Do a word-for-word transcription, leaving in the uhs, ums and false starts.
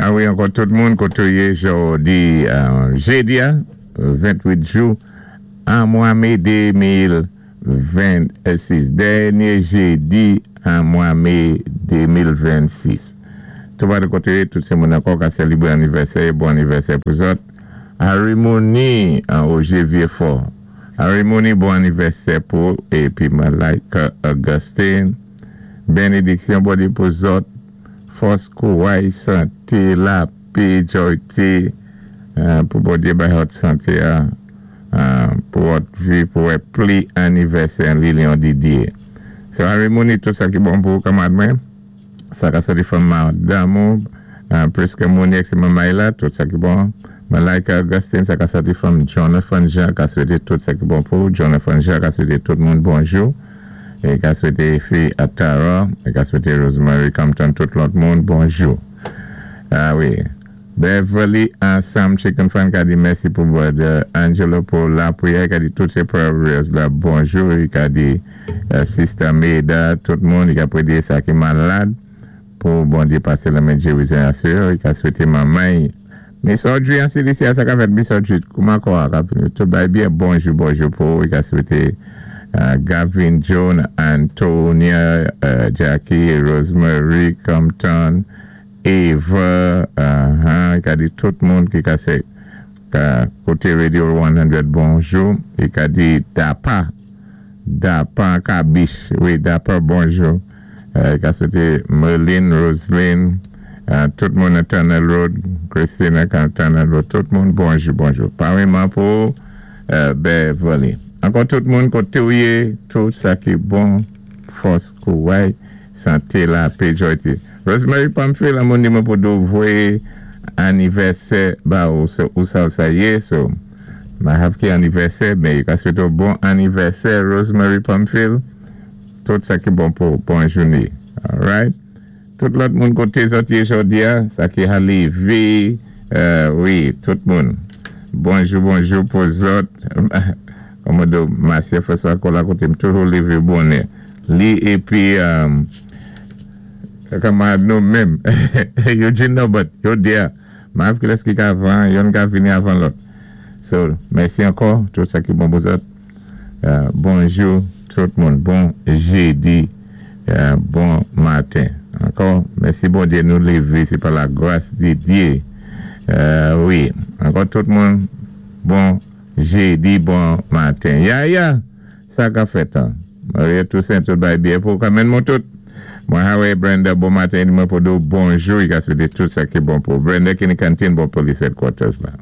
A wi, ankò tout moun koté ou yé jòdi, jédi, ventwit jou, an mwa mé de mil vennsis. Dènyé jédi an mwa mé de mil vennsis. Tout ba de koté, tout sé moun ankò ka sélibwé anivèsè, bon anivèsè pou zòt. Harry Mooney, an Roger Vieux-Fort. Harry Mooney, bon anivèsè pou, épi Malaika Augustine. Bénédiksyon Bondye pou zòt. Fòs, kouway, santé, lapé, jòyté, pou Bondye bay zòt santé, pou zòt viv, pou wè pli anivèsè Lilian Didier. So Harry Mooney, tout sa ki bon pou kanmad mwen, sa ka soti from madanm ou, Priska Mooney ek se mamay la, tout sa ki bon. Malaika Augustine, sa ka soti from Jonathan Jean, ka swété tout sa ki bon pou. Jonathan Jean, ka swété tout moun bonjou. É ka swété fi Atara, é ka swété Rosemary Compton, tout lòt moun, bonjou. A wi. Beverly Ansam Chicken Fan ka di mèsi pou brother Angelo pou lapwiyè, ka di tout sé prayers la bonjou, ka di Sister Maida, tout moun, ka pwédé sa ki malad, pou Bondye pasé lamen gérizon asou, ka swété mamay. Miss Audrey an Silicia, sa ka fèt Miss Audrey, kouman kò a ka fini, tout bay byen, bonjou, bonjou pou, ka swété Gavin, John, Antonia, Jackie, Rosemary, Compton, Eva, ka di tout moun ki ka sé ka koté Radio san, bonjou, e ka di Dapa, Dapa Kabish, wi, Dapa, bonjou, ka swété Merlin, Roslyn, tout moun an Tunnel Road, Christina kan Tunnel Road, tout moun bonjou, bonjou. Paréyman pou Beverly. Ankò tout moun koté ou yé, tout sa ki bon, fòs, kouway, santé, lapé, jòyté. Rosemary Pamphile, moun di mwen pou do voyé anivèsè ba ou, ou sa ou sa yé, so, ma hav ki anivèsè, men yo ka swété ou bon anivèsè, Rosemary Pamphile, tout sa ki bon pou bon jouné. Alright? Tout lòt moun koté zòt yé jòdi a, sa ki ha lévé, wi, tout moun. Bonjou, bonjou pou zòt. Kòmòdo Masye François Kola koté m toujou lévé bonè. Li épi, kòman nou menm, Eugene Norbert, yo dia, ma hav ki lès ki ka avan, youn ka vini avan lòt. So, mèsi ankò, tout sa ki bon pou zòt. Bonjou, tout moun. Bon jédi, bon maten. Ankò, mèsi Bondye nou lévé, sé pa la gras di Dye. Wi, ankò tout moun, bon jédi, bon maten. Ya, ya, sa ka fèt an. Maria Toussaint, tout bay byen pou kamen moun tout. Mwen hawe Brenda, bon maten, mwen pou do bonjou, i ka swété tout sa ki bon pou. Brenda ki ni kantin bon police headquarters la.